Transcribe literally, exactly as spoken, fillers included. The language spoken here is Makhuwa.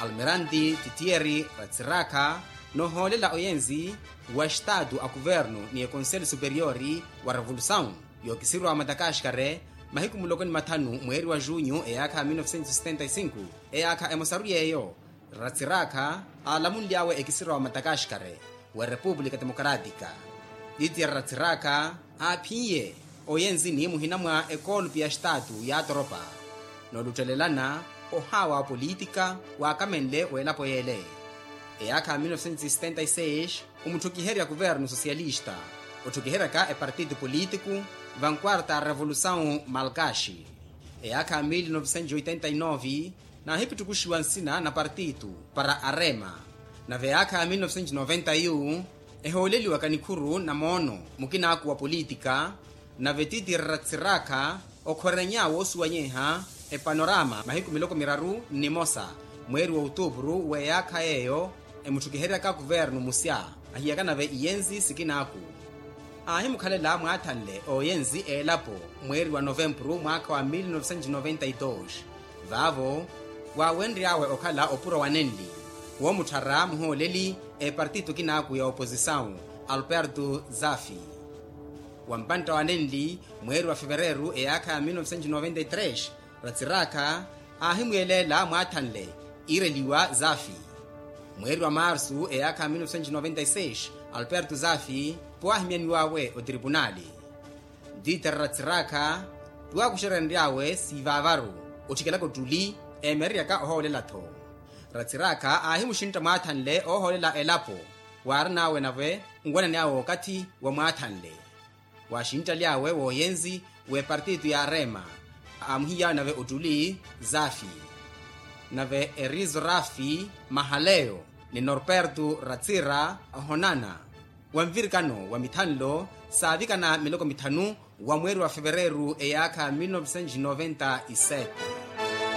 Almiranti titieri ratsirakha noohoolela oyenzi wa estatu a kuvernu ni ekonseli superiori wa revolusawu yookisirwa matakaxkare mahiku muloko ni mathanu mweeri wa junyu eyaakha ya mil novecentos setenta y cinco. Eyaakha emosaru yeeyo ratsirakha aalamunly'awe ekisirwa wa matakaxkare wa repupulika temokaratika. Titieri ratsirakha aaphiye oyenzini muhina mwa ekoolupi ya estatu ya atoropa nooluttelelana ohaawa wa politika waakamenle w'elapo yeele. Eyaakha ya mil novecentos setenta y seis omutthukiherya kuvernu sosiyalista otthukiheryaka epartitu politiku vankwarta revolusawu malkaxi. Eyaakha ya mil novecentos oitenta y nove naahipittukuxiwa nsina na partitu para arema. Nave eyaakha ya mil novecentos noventa yu ehooleliwaka nikhuru na moono mukinaaku wa politika. Nave titieri ratsirakha okhwereny'awe osuwanyeha epanorama mahiku miloko miraru nnimosa mweeri wa otupuru w'eyaakha yeeyo emutthukiheryaka kuvernu musya ahiyaka nave iyenzi sikinaaku. Aahimukhalela mwaathanle ooyenzi eelapo mweeri wa novempuru mwaakha wa mil novecentos noventa y dos vaavo waawenry'awe okhala opuro wa nenli woomutthara muhooleli epartitu kinaaku ya opozisawu alperto zafi. Wa mpantta wa nenli mweeri wa fevereru eyaakha ya mil novecentos noventa y tres ratsirakha aahimwieleela mwaathanle iireliwa zafi. Mweeri wa marsu eyaakha ya mil novecentos noventa y seis alperto zafi pwaahimyaniw'awe otripunali. Ntitera ratsirakha pwaakuxerenry'awe siivaavaru otthikelaka ottuli eemereryaka ohoolela-tho. Ratsirakha aahimuxintta mwaathanle oohoolela elapo waarin'awe nave nwanani awe okathi wa mwaathanle. Waaxinttaly'awe wooyenzi w'epartitu ya arema aamuhiy'awe nave ottuli zafi. Nave erizo rafi mahaleyo ni norperto ratsira ahonana wa nvirikano wa mithanlo saavikana miloko mithanu wa mweeri wa fevereru eyaakha mil novecentos noventa y sete.